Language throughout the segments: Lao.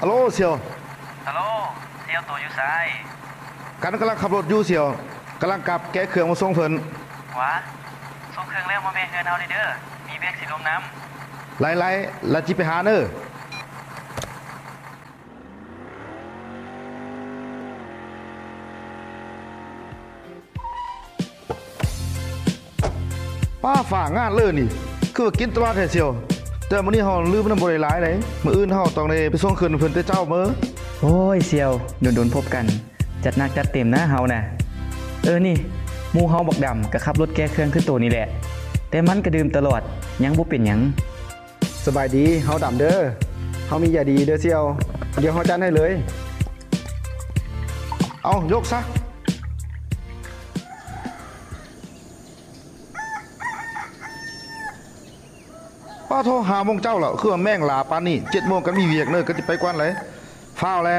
ອາໂຫຼ ສ່ຽວ. ອາໂຫຼ ສ່ຽວ ໂຕຢູ່ໃສ? ກັນກຳລັງຂັບລົດຢູ່ສ່ຽວ, ກຳລັງກັບແກະເຄື່ອງມາສົ່ງເພິ່ນ. ຫວາ ສົ່ງເຄື່ອງແລ້ວມາແວ່ເຮືອນເຮົາແດ່ເດີ, ມີວຽກຊິລົມນຳ. ໄຫຼໆ ລະຈິໄປຫາເດີ. ປ້າ ຟ້າງາດເລີຍນີ້ ຄືວ່າກິນຕະຫຼອດແທ້ສ່ຽວ. ແຕ່ມື້ນີ້ເຮົາລືມນຳບໍ່ໄດ້ຫຼາຍໃດ, ມື້ອື່ນເຮົາຕ້ອງໄດ້ໄປສົ່ງຄືນເພິ່ນແຕ່ເຊົ້າເມີ. ໂອ້ຍ ສ່ຽວ ດົນໆພົບກັນ, ຈັດໜັກຈັດເຕັມນະເຮົານະ. ເອີ ນີ້ ໝູ່ເຮົາບັກດຳກໍຂັບລົດແກ່ເຄື່ອງຄືໂຕນີ້ແຫຼະ, ແຕ່ມັນກໍດື່ມຕະຫຼອດ ຍັງບໍ່ເປັນຫຍັງ. ສະບາຍດີ, ເຮົາດຳເດີ. ເຮົາມີຢາດີເດີສ່ຽວ, ດຽວເຮົາຈັດໃຫ້ເລີຍ. ເອົາ ຍົກຊະ. ປ້າໂທ ຫ້າໂມງເຊົ້າແລ້ວ, ຄືວ່າແມ່ງຫຼ້າປານນີ້. ເຈັດໂມງກໍມີວຽກເນີ, ກໍຊິໄປກ່ອນເລີຍ. ຟ້າວແລ.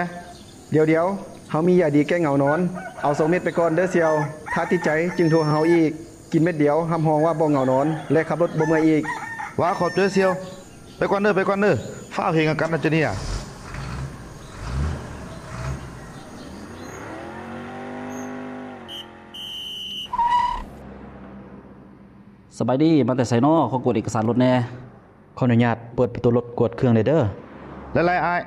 ດຽວໆ ເຮົາມີຢາດີແກ້ເຫງົານອນ, ເອົາສອງເມັດໄປກ່ອນເດີສ່ຽວ. ຖ້າຕິດໃຈຈຶ່ງໂທຫາເຮົາອີກ. ກິນເມັດດຽວ ຮັບຮອງວ່າບໍ່ເຫງົານອນ ແລະ ຂັບລົດບໍ່ເມື່ອຍອີກ. ຫວາ ຂອບໃຈສ່ຽວ. ໄປກ່ອນເດີ, ໄປກ່ອນເດີ. ຟ້າວເຮັດຫຍັງກັນນະເຈົ້ານີ້. ສະບາຍດີ, ມາແຕ່ໃສນໍ? ຂໍກວດເອກະສານລົດແດ່. ຂໍອະນຸຍາດເປີດປະຕູລົດກວດເຄື່ອງໄດ້ເດີ. ຫຼາຍໆ ອ້າຍ.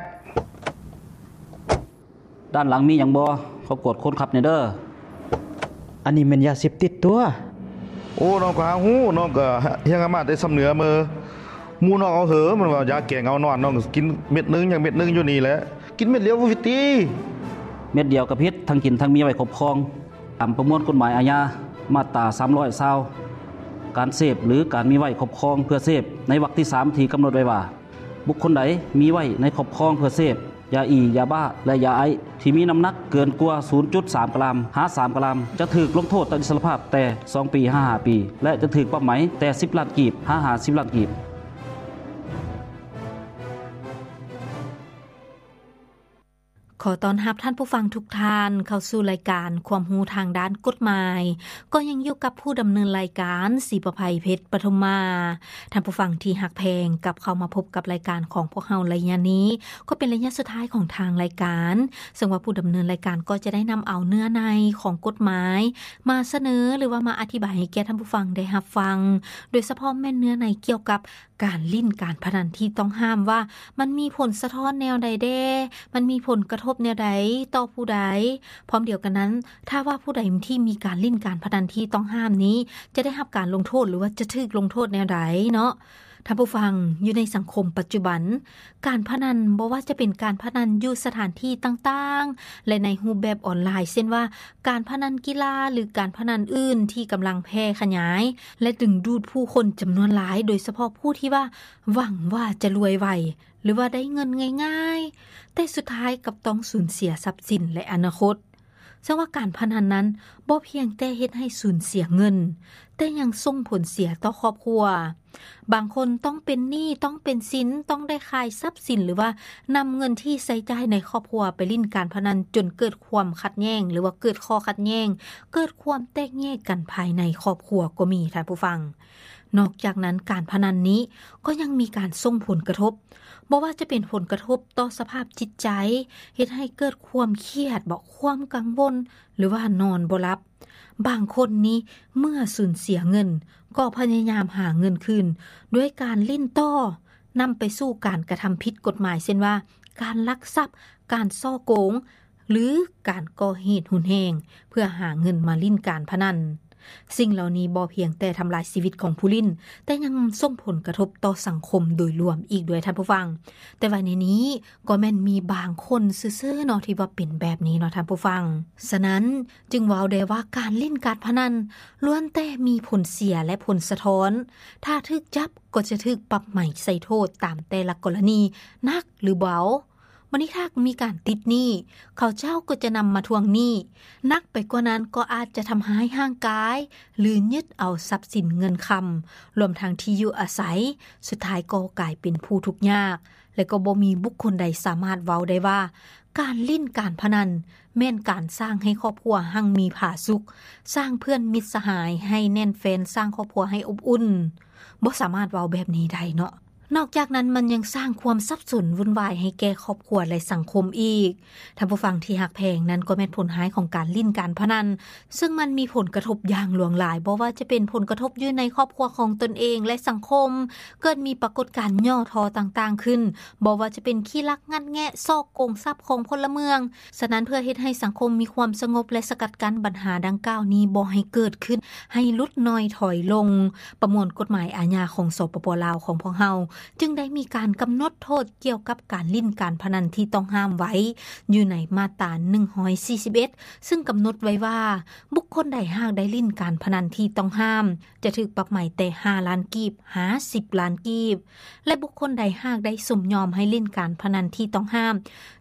ດ້ານຫຼັງມີຫຍັງບໍ່? ຂໍກວດຄົນຂັບແດ່ເດີ. ອັນນີ້ແມ່ນຢາເສບຕິດຕົວະ. ໂອ້ ນ້ອງກໍຫາຮູ້, ນ້ອງກໍຮຽນກັນມາແຕ່ຊຳເໜືອເມີ. ໝູ່ນ້ອງເອົາເຫີ ມັນວ່າຢາແກ້ເຫງົານອນ, ນ້ອງກໍກິນເມັດໜຶ່ງ ຍັງເມັດໜຶ່ງຢູ່ນີ້ແຫຼະ. ກິນເມັດດຽວບໍ່ຜິດຕິ? ເມັດດຽວກໍຜິດ, ທັງກິນທັງມີໄວ້ຄອບຄອງ. ຕາມປະມວນກົດໝາຍອາຍາ ມາດຕາສາມຮ້ອຍຊາວ ການເສບ ຫຼື ການມີໄວ້ຄອບຄອງເພື່ອເສບ ໃນວັກທີສາມ ທີ່ກຳນົດໄວ້ວ່າ ບຸກຄົນໃດມີໄວ້ໃນຄອບຄອງເພື່ອເສບ ຢາອີ, ຢາບ້າ ແລະ ຢາໄອສ໌ ທີ່ມີນ້ຳໜັກເກີນກວ່າ ສູນຈຸດສາມກຣາມ ຫາ ສາມກຣາມ ຈະຖືກລົງໂທດຕັດອິດສະລະພາບແຕ່ສອງປີ ຫາ ຫ້າປີ ແລະ ຈະຖືກປັບໃໝແຕ່ສິບລ້ານກີບ ຫາ ຫ້າສິບລ້ານກີບ. ຂໍຕ້ອນຮັບທ່ານຜູ້ຟັງທຸກທ່ານເຂົ້າສູ່ລາຍການຄວາມຮູ້ທາງດ້ານກົດໝາຍ. ກໍຍັງຢູ່ກັບຜູ້ດຳເນີນລາຍການ ສີປະໄພ ເພັດປະທຸມມາ. ທ່ານຜູ້ຟັງທີ່ຮັກແພງ, ກັບເຂົ້າມາພົບກັບລາຍການຂອງພວກເຮົາໄລຍະນີ້ ກໍເປັນໄລຍະສຸດທ້າຍຂອງທາງລາຍການ, ເຊິ່ງວ່າຜູ້ດຳເນີນລາຍການກໍຈະໄດ້ນຳເອົາເນື້ອໃນຂອງກົດໝາຍມາສະເໜີ ຫຼືວ່າມາອະທິບາຍໃຫ້ແກ່ທ່ານຜູ້ຟັງໄດ້ຮັບຟັງ, ໂດຍສະເພາະແມ່ນເນື້ອໃນກ່ຽວກັບ ການຫຼິ້ນການພະນັນທີ່ຕ້ອງຫ້າມວ່າ ມັນມີຜົນສະທ້ອນແນວໃດແດ່, ມັນມີຜົນກະທົບແນວໃດຕໍ່ຜູ້ໃດ. ພ້ອມດຽວກັນນັ້ນ, ຖ້າວ່າຜູ້ໃດທີ່ມີການຫຼິ້ນການພະນັນທີ່ຕ້ອງຫ້າມນີ້ ຈະໄດ້ຮັບການລົງໂທດ ຫຼືວ່າຈະຖືກລົງໂທດແນວໃດເນາະ. ທ່ານຜູ້ຟັງ, ຢູ່ໃນສັງຄົມປັດຈຸບັນ, ການພະນັນ, ບໍ່ວ່າຈະເປັນການພະນັນຢູ່ສະຖານທີ່ຕ່າງໆ ແລະ ໃນຮູບແບບອອນລາຍ, ເຊັ່ນວ່າ ການພະນັນກິລາ ຫຼື ການພະນັນອື່ນທີ່ກຳລັງແຜ່ຂະຫຍາຍ ແລະ ດຶງດູດຜູ້ຄົນຈຳນວນຫຼາຍ, ໂດຍສະເພາະຜູ້ທີ່ວ່າຫວັງວ່າຈະລວຍໄວ ຫຼືວ່າໄດ້ເງິນງ່າຍໆ, ແຕ່ສຸດທ້າຍກັບຕ້ອງສູນເສຍຊັບສິນ ແລະ ອະນາຄົດ. ເຊິ່ງວ່າການພະນັນນັ້ນບໍ່ພຽງແຕ່ເຮັດໃຫ້ສູນເສຍເງິນ, ແຕ່ຍັງສົ່ງຜົນເສຍຕໍ່ຄອບຄົວ. ບາງຄົນຕ້ອງເປັນໜີ້, ຕ້ອງເປັນສິນ, ຕ້ອງໄດ້ຂາຍຊັບສິນ ຫຼືວ່ານຳເງິນທີ່ໃຊ້ຈ່າຍໃນຄອບຄົວໄປຫຼິ້ນການພະນັນ ຈົນເກີດຄວາມຂັດແຍ່ງ ຫຼືວ່າເກີດຂໍ້ຂັດແຍ່ງ, ເກີດຄວາມແຕກແຍກກັນພາຍໃນຄອບຄົວກໍມີ, ທ່ານຜູ້ຟັງ. ນອກຈາກນັ້ນ, ການພະນັນນີ້ກໍຍັງມີການສົ່ງຜົນກະທົບ, ບໍ່ວ່າຈະເປັນຜົນກະທົບຕໍ່ສະພາບຈິດໃຈ, ເຮັດໃຫ້ເກີດຄວາມຄຽດ, ບໍ່, ຄວາມກັງວົນ, ຫຼືວ່ານອນບໍ່ຫຼັບ. ບາງຄົນນີ້ເມື່ອສູນເສຍເງິນ ກໍພະຍາຍາມຫາເງິນຄືນດ້ວຍການຫຼິ້ນຕໍ່, ນຳໄປສູ່ການກະທຳຜິດກົດໝາຍ ເຊັ່ນວ່າ ການລັກຊັບ, ການສໍ້ໂກງ ຫຼື ການກໍ່ເຫດຮຸນແຮງ ເພື່ອຫາເງິນມາຫຼິ້ນການພະນັນ. ສິ່ງເຫຼົ່ານີ້ບໍ່ພຽງແຕ່ທຳລາຍຊີວິດຂອງຜູ້ຫຼິ້ນ, ແຕ່ຍັງສົ່ງຜົນກະທົບຕໍ່ສັງຄົມໂດຍລວມອີກດ້ວຍ, ທ່ານຜູ້ຟັງ. ແຕ່ວ່າໃນນີ້ກໍແມ່ນມີບາງຄົນຊື່ໆເນາະ ທີ່ວ່າເປັນແບບນີ້ເນາະ, ທ່ານຜູ້ຟັງ. ສະນັ້ນ, ຈຶ່ງເວົ້າໄດ້ວ່າການຫຼິ້ນການພະນັນລ້ວນແຕ່ມີຜົນເສຍ ແລະ ຜົນສະທ້ອນ. ຖ້າຖືກຈັບກໍຈະຖືກປັບໃໝໃສ່ໂທດຕາມແຕ່ລະກໍລະນີ ໜັກ ຫຼື ເບົາ. ບັດນີ້ຖ້າມີການຕິດໜີ້, ເຂົາເຈົ້າກໍຈະນຳມາທວງໜີ້. ໜັກໄປກວ່ານັ້ນກໍອາດຈະທຳຮ້າຍຮ່າງກາຍ ຫຼື ຍຶດເອົາຊັບສິນເງິນຄຳ, ລວມທັງທີ່ຢູ່ອາໄສ, ສຸດທ້າຍກໍກາຍເປັນຜູ້ທຸກຍາກ. ແລະ ກໍບໍ່ມີບຸກຄົນໃດສາມາດເວົ້າໄດ້ວ່າ ການຫຼິ້ນການພະນັນແມ່ນການສ້າງໃຫ້ຄອບຄົວຮັ່ງມີຜາສຸກ, ສ້າງເພື່ອນມິດສະຫາຍໃຫ້ແໜ້ນແຟ້ນ, ສ້າງຄອບຄົວໃຫ້ອົບອຸ່ນ. ບໍ່ສາມາດເວົ້າແບບນີ້ໄດ້ເນາະ. ນອກຈາກນັ້ນມັນຍັງສ້າງຄວາມສັບສົນວຸ່ນວາຍໃຫ້ແກ່ຄອບຄົວ ແລະສັງຄົມອີກ. ທ່ານຜູ້ຟັງທີ່ຮັກແພງ, ນັ້ນກໍແມ່ນຜົນຮ້າຍຂອງການຫຼິ້ນການພະນັນ ຊຶ່ງມັນມີຜົນກະທົບຢ່າງຫຼວງຫຼາຍ, ບໍ່ວ່າຈະເປັນຜົນກະທົບຢູ່ໃນຄອບຄົວຂອງຕົນເອງ ແລະສັງຄົມ, ເກີດມີປາກົດການຫຍໍ້ທໍ້ຕ່າງໆຂຶ້ນ, ບໍ່ວ່າຈະເປັນຂີ້ລັກງັດແງະ, ສໍ້ໂກງຊັບຂອງພົນລະເມືອງ. ສະນັ້ນເພື່ອເຮັດໃຫ້ສັງຄົມມີຄວາມສະຫງົບ ແລະສະກັດກັ້ນບັນຫາດັ່ງກ່າວນີ້ບໍ່ໃຫ້ເກີດຂຶ້ນ, ໃຫ້ຫຼຸດໜ້ອຍຖອຍລົງ, ປະມວນກົດໝາຍອາຍາຂອງ ສປປ ລາວ ຂອງພວກເຮົາ ຈຶ່ງໄດ້ມີການກຳນົດໂທດກ່ຽວກັບການຫຼິ້ນການພະນັນທີ່ຕ້ອງຫ້າມໄວ້ຢູ່ໃນມາດຕາໜຶ່ງຮ້ອຍສີ່ສິບເອັດ ຊຶ່ງກຳນົດໄວ້ວ່າ ບຸກຄົນໃດຫາກໄດ້ຫຼິ້ນການພະນັນທີ່ຕ້ອງຫ້າມ ຈະຖືກປັບໃໝແຕ່ຫ້າລ້ານກີບຫາສິບລ້ານກີບ ແລະບຸກຄົນໃດຫາກໄດ້ສົມຍອມໃຫ້ຫຼິ້ນການພະນັນທີ່ຕ້ອງຫ້າມ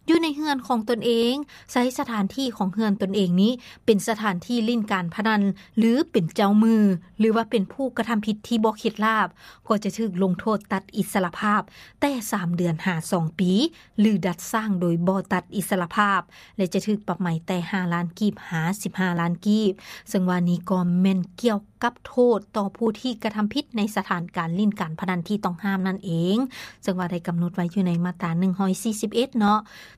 ຢູ່ໃນເຮືອນຂອງຕົນເອງ, ໃຊ້ສະຖານທີ່ຂອງເຮືອນຕົນເອງນີ້ເປັນສະຖານທີ່ຫຼິ້ນການພະນັນ ຫຼືເປັນເຈົ້າມື ຫຼືວ່າເປັນຜູ້ກະທຳຜິດທີ່ບໍ່ເຂັດລາບ, ກໍຈະຖືກລົງໂທດຕັດອິດສະຫຼະພາບແຕ່ສາມເດືອນຫາສອງປີ ຫຼືດັດສ້າງໂດຍບໍ່ຕັດອິດສະຫຼະພາບ ແລະຈະຖືກປັບໃໝແຕ່ຫ້າລ້ານກີບຫາສິບຫ້າລ້ານກີບ, ເຊິ່ງວ່ານີ້ກໍແມ່ນກ່ຽວກັບໂທດຕໍ່ຜູ້ທີ່ກະທຳຜິດໃນສະຖານການຫຼິ້ນການພະນັນທີ່ຕ້ອງຫ້າມນັ້ນເອງ, ເຊິ່ງວ່າໄດ້ກຳນົດໄວ້ຢູ່ໃນມາດຕາໜຶ່ງຮ້ອຍສີ່ສິບເອັດເນາະ.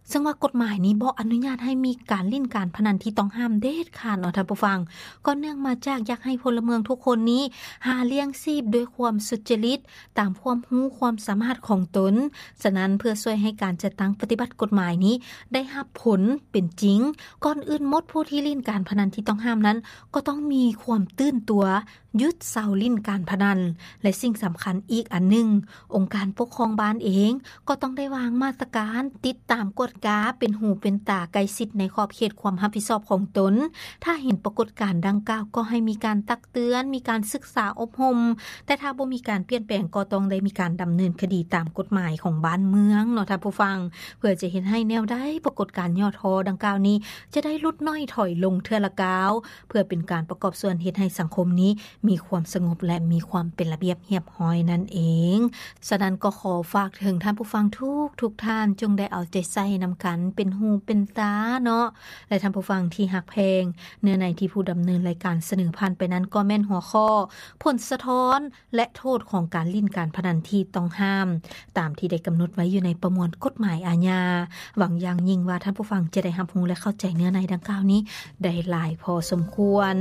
ເຊິ່ງວ່າກົດໝາຍນີ້ບໍ່ອະນຸຍາດໃຫ້ມີການຫຼິ້ນການພະນັນທີ່ຕ້ອງຫ້າມເດັດຂາດເນາະທ່ານຜູ້ຟັງ, ກໍເນື່ອງມາຈາກຢາກໃຫ້ພົນລະເມືອງທຸກຄົນນີ້ຫາລ້ຽງຊີບດ້ວຍຄວາມສຸດຈະລິດ ຕາມຄວາມຮູ້ຄວາມສາມາດຂອງຕົນ. ສະນັ້ນເພື່ອຊ່ວຍໃຫ້ການຈັດຕັ້ງປະຕິບັດກົດໝາຍນີ້ໄດ້ຮັບຜົນເປັນຈິງ, ກ່ອນອື່ນໝົດຜູ້ທີ່ຫຼິ້ນການພະນັນທີ່ຕ້ອງຫ້າມນັ້ນ ກໍຕ້ອງມີຄວາມຕື່ນຕົວ ຢຸດເຊົາຫຼິ້ນການພະນັນ ແລະສິ່ງສຳຄັນອີກອັນໜຶ່ງ, ອົງການປົກຄອງບ້ານເອງ ກໍຕ້ອງໄດ້ວາງມາດຕະການຕິດຕາມກວດກາ ເປັນຫູເປັນຕາໃກ້ຊິດໃນຂອບເຂດຄວາມຮັບຜິດຊອບຂອງຕົນ. ຖ້າເຫັນປາກົດການດັ່ງກ່າວ ກໍໃຫ້ມີການຕັກເຕືອນ, ມີການສຶກສາອົບຮົມ, ແຕ່ຖ້າບໍ່ມີການປ່ຽນແປງ ກໍຕ້ອງໄດ້ມີການດຳເນີນຄະດີຕາມກົດໝາຍຂອງບ້ານເມືອງເນາະທ່ານຜູ້ຟັງ, ເພື່ອຈະເຮັດໃຫ້ແນວໃດປາກົດການຫຍໍ້ທໍ້ດັ່ງກ່າວນີ້ ຈະໄດ້ຫຼຸດໜ້ອຍຖອຍລົງເທື່ອລະກ້າວ, ເພື່ອເປັນການປະກອບສ່ວນເຮັດໃຫ້ສັງຄົມນີ້ມີຄວາມສະຫງົບ ແລະ ມີຄວາມເປັນລະບຽບຮຽບຮ້ອຍນັ້ນເອງ. ສະນັ້ນກໍຂໍຝາກເຖິງທ່ານຜູ້ຟັງທຸກໆທ່ານ, ຈົ່ງໄດ້ເອົາໃຈໃສ່ນຳກັນ ເປັນຫູເປັນຕາເນາະ ແລະ ທ່ານຜູ້ຟັງທີ່ຮັກແພງ, ເນື້ອໃນທີ່ຜູ້ດຳເນີນລາຍການສະເໜີຜ່ານໄປນັ້ນ ກໍແມ່ນຫົວຂໍ້ ຜົນສະທ້ອນ ແລະ ໂທດຂອງການຫຼິ້ນການພະນັນທີ່ຕ້ອງຫ້າມ ຕາມທີ່ໄດ້ກຳນົດໄວ້ຢູ່ໃນປະມວນກົດໝາຍອາຍາ. ຫວັງຢ່າງຍິ່ງວ່າທ່ານຜູ້ຟັງຈະໄດ້ຮັບຮູ້ ແລະ ເຂົ້າໃຈເນື້ອໃນດັ່ງກ່າວນີ້ໄດ້ຫຼາຍພໍສົມຄວນ.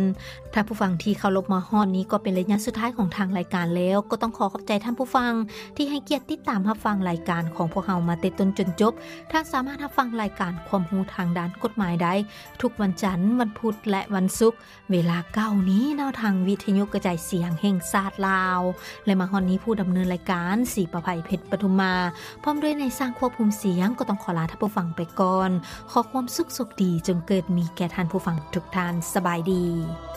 ທ່ານຜູ້ຟັງທີ່ເຄົາລົບ, ມາຮອດນີ້ກໍເປັນໄລຍະສຸດທ້າຍຂອງທາງລາຍການແລ້ວ, ກໍຕ້ອງຂໍຂອບໃຈທ່ານຜູ້ຟັງທີ່ໃຫ້ກຽດຕິດຕາມຮັບຟັງລາຍການຂອງພວກເຮົາມາແຕ່ຕົ້ນຈົນຈົບ. ທ່ານສາມາດຮັບຟັງລາຍການຄວາມຮູ້ທາງດ້ານກົດໝາຍໄດ້ທຸກວັນຈັນ, ວັນພຸດ ແລະ ວັນສຸກ ເວລາເກົ້ານີ້ເນາະ ທາງວິທະຍຸກະຈາຍສຽງແຫ່ງຊາດລາວ ແລະ ມາຮອດນີ້ຜູ້ດຳເນີນລາຍການ ສີປະໄພ ເພັດປະທຸມມາ ພ້ອມດ້ວຍນາຍຊ່າງຄວບຄຸມສຽງ ກໍຕ້ອງຂໍລາທ່ານຜູ້ຟັງໄປກ່ອນ. ຂໍຄວາມສຸກໂຊກດີຈົ່ງເກີດມີແກ່ທ່ານຜູ້ຟັງທຸກທ່ານ. ສະບາຍດີ.